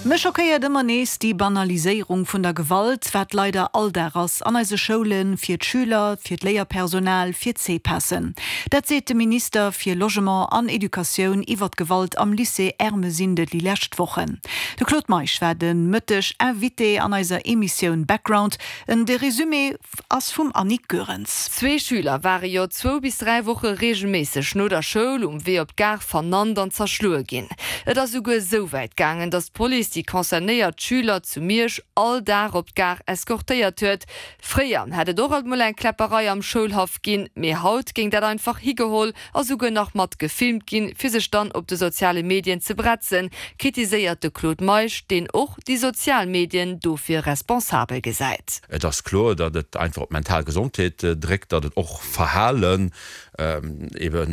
Mech schockéiert ëmmer nees déi Banaliséierung vun der Gewalt, wat leider Alldag ass an eise Schoulen, fir d'Schüler, fir d'Léierpersonal, fir d'CPASen. Dat seet de Minister fir Logement an Educatioun iwwer d'Gewalt am Lycée Ermesinde déi lescht Wochen. De Claude Meisch war de Mëtteg Invité an eiser Emissioun Background. De Resumé ass vum Annick Goerens. Zwee Schüler ware jo zwou bis 3 Woche reegelméisseg no der Schoul um Wee op d'Gare vernannt an zerschloe ginn. Et ass souguer esou wäit gaangen, datt d'Police déi concernéiert Schüler zu Miersch all Dag op d'Gare eskortéiert huet. Fréier hätt et och alt mol eng Kläpperei am Schoulhaff ginn, mee haut géing dat einfach higeholl a souguer nach mat gefilmt ginn, fir sech dann op de soziale Medien ze bretzen, kritiséiert de Claude Meisch, deen och déi sozial Medien dofir responsabel gesäit. Et ass kloer, datt et einfach op d'mental Gesondheet dréckt, datt et och Verhalen, ebe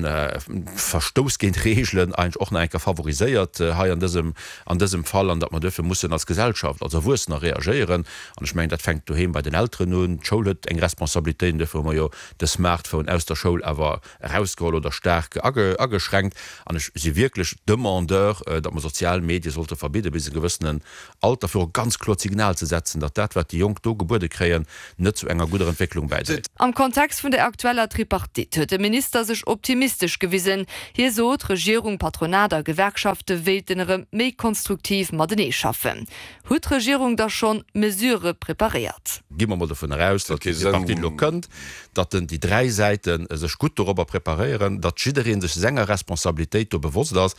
Verstouss géint Reegelen eigentlech och nach eng Kéier favoriséiert hei an dësem, an dësem Fall, an datt mer duerfir mussen als Gesellschaft, als Erwuessener reagéieren. An ech mengen, dat fänkt doheem bei den Elteren un. D'Schoul huet eng Responsabilitéit, an duerfir hu mer jo de Smartphone aus der Schoul awer erausgeholl oder staark ageschränkt. An ech si wierklech Demandeur, datt mer sozial Medie sollte verbidde bis e gewëssenen Alter, fir och e ganz kloert Signal ze setzen, datt dat, wat déi Jonk do gebuede kréien, net zu enger gudder Entwécklung bäidréit. Am Kontext vun der aktueller Tripartite huet de Minister sech optimistesch gewisen. Hie sot, Regierung, Patronat a Gewerkschafte wéilten erëm méi konstruktiv matenee schaffen. Huet d'Regierung da schonn Mesurë preparéiert? Gi mer mol dovun eraus, datt déi Tripartite elo kënnt, datt déi dräi Säite sech gutt dorobber preparéieren, datt jidderee sech senger Responsabilitéit do bewosst ass.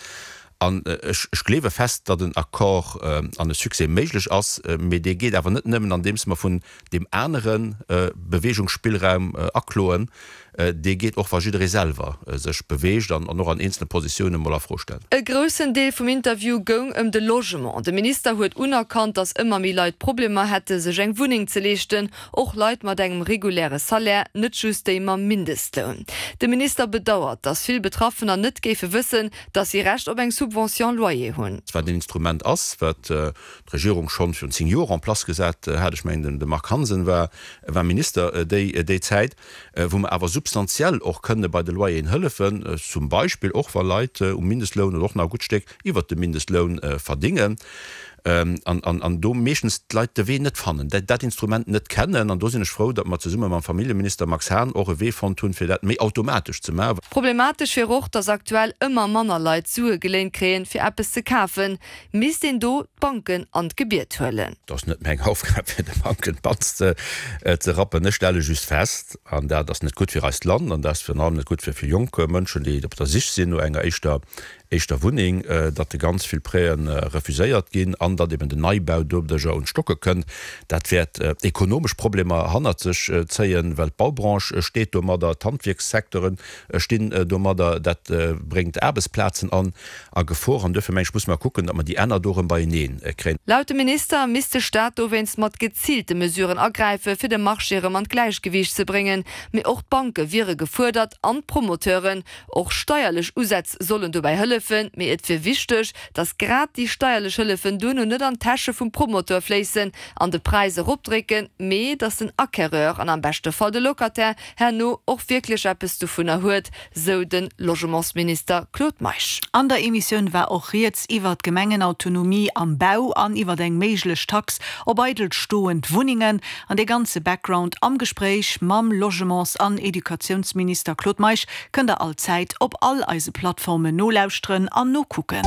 An ech gleewe fest, datt en Accord an e Succès méiglech ass, mee dee geet awer net nëmmen andeems mer vun deem anere Beweegungsspillraum akloen, dee geet och wa jidderee selwer sech beweegt an och an eenzele Positiounen mol a Fro stellt. E groussen Deel vum Interview goung ëm de Logement. De Minister huet unerkannt, datt ëmmer méi Leit Problemer hätte sech eng Wunneng ze leeschten, och Leit mat engem reguläre Salaire, net just déi mam Mindestloun. De Minister bedauert, datt vill Betraffener net géife wëssen, datt si Recht op eng Subvention loyer hunn. Wat en Instrument ass, wat d'Regierung schonn virun 10 Joer en place gesat hat, ech mengen de Marc Hansen war Minister déi Zäit, wou mer awer substantiell och kënne bei de Loyeren hëllefen, zum Beispill och wa Leit um Mindestloun oder och nach e gutt Stéck iwwert dem Mindestloun verdingen an do meeschtens d'Leit de Wee net fannen, dat Instrument net kennen. An do sinn ech frou, datt mer zesumme mam Familljeminister Max Hahn och e Wee fonnt hunn, fir dat méi automatesch ze maachen. Problematesch wier och, datt aktuell ëmmer manner Leit Sue geléint kréien, fir eppes ze kafen. Misst een do d'Banken an d'Gebiet huelen? Et ass net meng Aufgab fir de Banken d'Panz ze rappen. Ech stelle just fest, an dat ass net gutt fir eist Land an dat ass virun allem net gutt fir vill jonk Mënschen, déi op der Sich sinn no enger éischter éischter Wunneng, datt de ganz vill Prêten refuséiert ginn an datt eben den Neibau doduercher un d'Stocke kënnt. Dat wäert ekonomesch Problemer hannert sech zéien, well d'Baubranche steet domadder, d'Handwierkssecteure stinn domadder, dat bréngt Aarbechtsplazen an a Gefor an duerfir meng ech, musse mer kucken, datt mer déi Enner do erëm beienee kréien. Laut dem Minister misst de Staat dowéinst mat geziilte Mesuren agräife fir de Marché erëm an d'Gläichgewiicht ze bréngen. Mee och d'Banke wiere gefuerdert an d'Promoteuren. Och steierlech Usätz sollen dobäi hëllefen. Mee et wier wichteg, datt grad déi steierlech Hëllefen duerno net an d'Täsche vum Promoteur fléissen an de Präis eropdrécken, mee datt den Acquéreur an am beschte Fall de Locataire herno och wierklech eppes dovunner huet, sou de Logementsminister Claude Meisch. An der Emissioun war och rieds iwwer d'Gemengenautonomie am Bau an iwwer eng méiglech Tax op eidel stoend Wunnengen. An dee ganze Background am Gespréich mam Logements an Educatiounsminister Claude Meisch kënnt der all Zäit op all eise Plattformen nolauschteren an nokucken.